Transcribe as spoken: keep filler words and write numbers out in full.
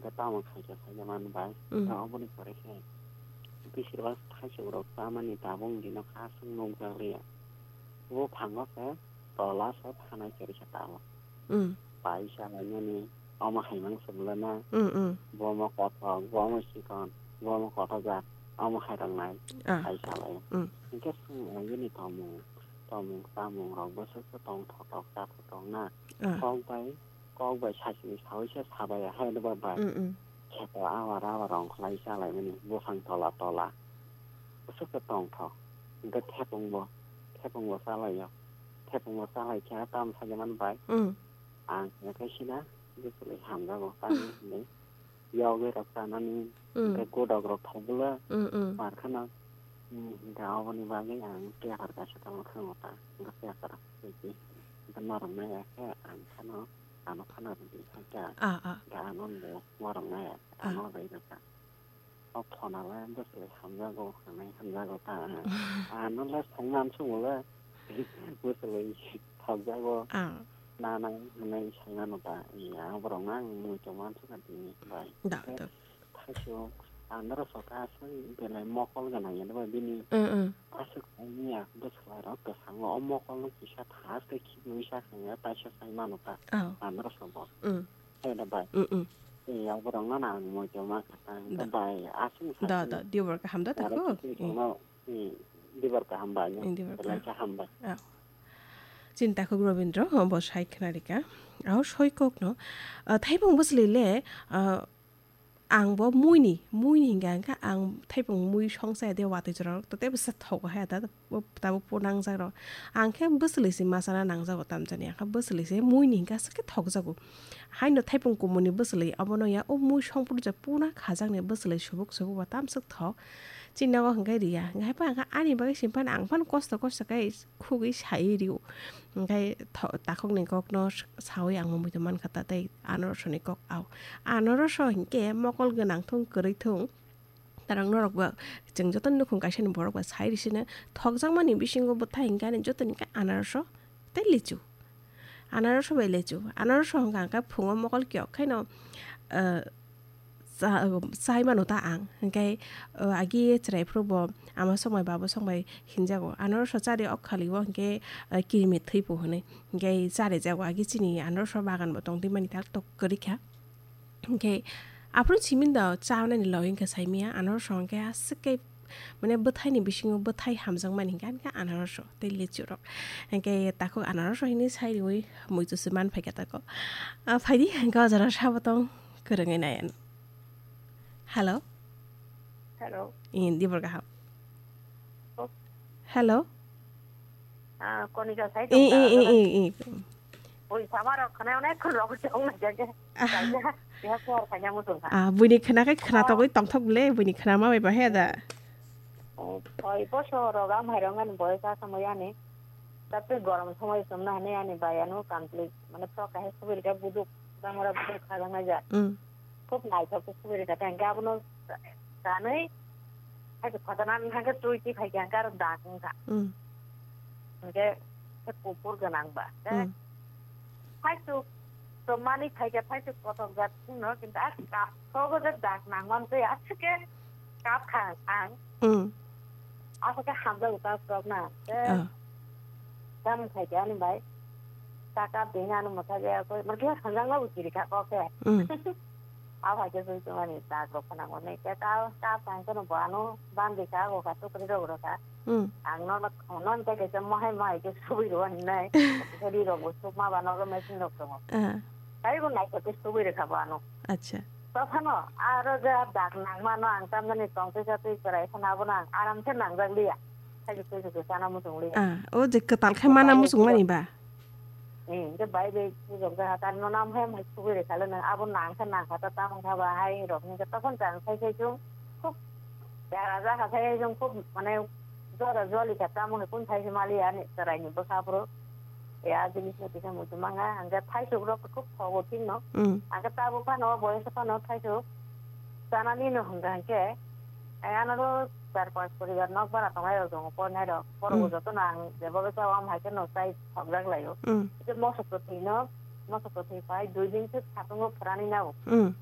Khe tamo khaikhe khaikhe man bai. Mm. Khe oboni pore khe bisir bak thaisok rok chamani tabuk dino kha aswk nukjak liya. Buphango khe tola se thanai chwrwi khe tabuk. Mm. Paisa lainani omo hai mang swbulana. Mm, mm. Bomo kothok, bomo chikon, bomo kothok jak, omo hai rok nai. Ah. Paisa lai. Mm. Hinkhe swng lainani tomung, tomung chamung rok bwswk se tongthok tok chathok tok na. Ah. Kok bai kok bai sachini sawi se sabai hai no ba bai. Mm, mm. Kheto awa rawa rong khlai chalaimani buphang tola tola. Bwswk khe tongthok. Hwnkhe thepung bo, thepung bo chalaio. Thepung bo chalai khe tam sajaman bai. Mm. Ang khe sina bwswk hamjago tamo hinwi. Yogwi rok chanani, mm, hwnkhe godok rok thok bwla. Mm, mm. Mar kheno. Mm, hwnkhe aboni bagwi ang paper kaisa tongma thangma ta. Hwnkhe paper. Hwnkhe norok nai ya khe ang kheno. Ano khana rwdi kha kya? Ah, ah. Da ano bo warang nai. Ah. Ano bai rwkha. O phone le bwswlwi hamjago, hamai hamjago ta. Ano le songna amsongo le bwswlwi thokjago. Ah. Na nang hinwi songna no ta. Ya borok nang mui tongma amsonga tini bai. Da, da. Thaichuk, ang norok sokha aswk belai mokol gwnang ya ba bini. Mm, mm. Aswk ongya bwswlarok kwchangma o mokol no kisa thas khe khibwi sa khe taisa sai mano ta. Oh. Ang norok sokha. Mm. Hai da bai. Mm, mm. Tei yang borok no ang moito ma kha ta. Da. Bai aswk sa. Da, da, dibar kaham da ta ko. Dibar kaham bai. Dibar kaham. Belai kaham bai. Oh. Chini takhuk Robindro, bo sai khna rika. Aho soi kok no. Ah, thaibung bwswlwi le, ah, Ang bo muini, muini hingka hingka ang thaipung mui songsa de watui jorok to tebo se thogo hai da bo tabuk po nangjak rok. Ang khe bwswlwi se masa na nangjago tamjani, ang khe bwswlwi se muini hingka aswk khe thokjago. Haino thaipung kumuni bwswlwi obono ya o mui songpru je puna khajakni bwswlwi subuk subuk ba tamswk thok. Chini nogo hingke riya, hingke hai phano ang ani bagwi simi phano ang phano kosto kosto khe khugwi sai rio. Hingke tho-, takhukni kokno saui ang muitu mankha ta tei anorosoni kok au. Anorosho hingke mokol gwnang thung kwrwi thung. Tarang norok bo chwng joto nukhung kaisani borok bo sai risina thokjakmani bisingo bwthai hingke ani jotoni khe anorosho tei lichu. Anaroso bai lechu. Anaroso hwnka hwnka phungo mokol kiyok khaino, ah, cha-, chai mano ta ang. Hwnkhe, ah, agi chwrai phuru bo ama songbai babo songbai hinjago. Anaroso chari ok khali o hwnkhe, ah, kirimi thwipo hwnwi. Hwnkhe charijago agi chini anaroso bagan bo tongtwi mani tak tok kwrwi kha. Hwnkhe aphuru simi da cha nani login khe saimaya, ano song khe aswk khe, mane, bwthaini bisingo bwthai hamjakmani hwnkhe, ani khe anaroso tei lichu rok. Hwnkhe takhuk anaroso hinwi sai riui muitu se man phaikha tako. Ah, phaidi hwnkhe o jora sabo tong kwrwngwi nai ano. Hello? Hello. Indi borga hap. Oh. Hello? Ah, Konika sai I, tong i, i, ta, i, i. Oi, sama rok khana onek khun rok jong na jaga. Ah. Kaisa, ya kor kanya mutung ha. Ah, buini khana kai khana Oh. Togoi tongthok le, buini khana ma bai ba he da. Oh, oi, po so rok am hai rong ani boy sa samoi ani. Tapi gorom samoi sum na hane ani bai anu complete. Mane pro kahe subir ka buduk, damora buduk kha jang na ja. Mm. Khub naithok khe subui rwkha, tei hwnkhe abono chanwi, hai khe khotana wngkha khe twi twi phai khe hwnkhe aro dak wngkha. Mm. Hwnkhe khe kuphur gwnang ba. Tei Mm. phaichuk to manwi phai khe phaichuk kothok jat wngno, kintu a kapthogo je dak nangmani tei aswk khe kap kha ang. Mm. Aswk khe hamjago kap rok na. Tei Ah. Tamo khai khe ani bai. Taka bini ano mwthai ya koi, mane khe hanjak no bo kiri kha kok khe. Mm. A bai khe sui tongmani tak rok khna mani khe ta, ta phang khe no bo ano bandi kha, go kha, tukri rok rw kha. Mm. Ang no, no, no, te khe se mohai, mohai khe sui rw hinai. Khe ri rok bo sukma ba nogo machine rok tongo. Ah. Tai bo nai khe sui rw kha bo ano. Acha. Tophano aro je dak nangmano ang tamjani tongtwi chatwi chwrai phano abono ang aram khe nangjak liya. Khaidi twi twi chana muchung liya. Ah, o je kwtal khe mana muchung mani ba? Eh, je bai bai pujok jaga tan no nam hai mai sugui re khale nang abo nang khe nang kha ta tamo kha ba hai rok ni tophon chang sai sai chung khub yara ja kha sai chung khub mane jora joli kha tamo khe kun sai sai mali ani chwrai ni bwkha phuru. Ya jinis no kisa muchung manga ang khe thaisuk rok khub thogo thik no. Mm. Ang khe tabuk phano boyos phano thaisuk. Chanani no hwnka hwnkhe, ai ano ro char panch poribar nok bara tongnai rok tongo, pornai rok. Borok bo Mm. jotono ang jeba bai chao, am hai khe no chai thokjak laio. Mm. Khe mosok kwthwi no, mosok kwthwi pai dui din se satungo phwrani nao. Mm.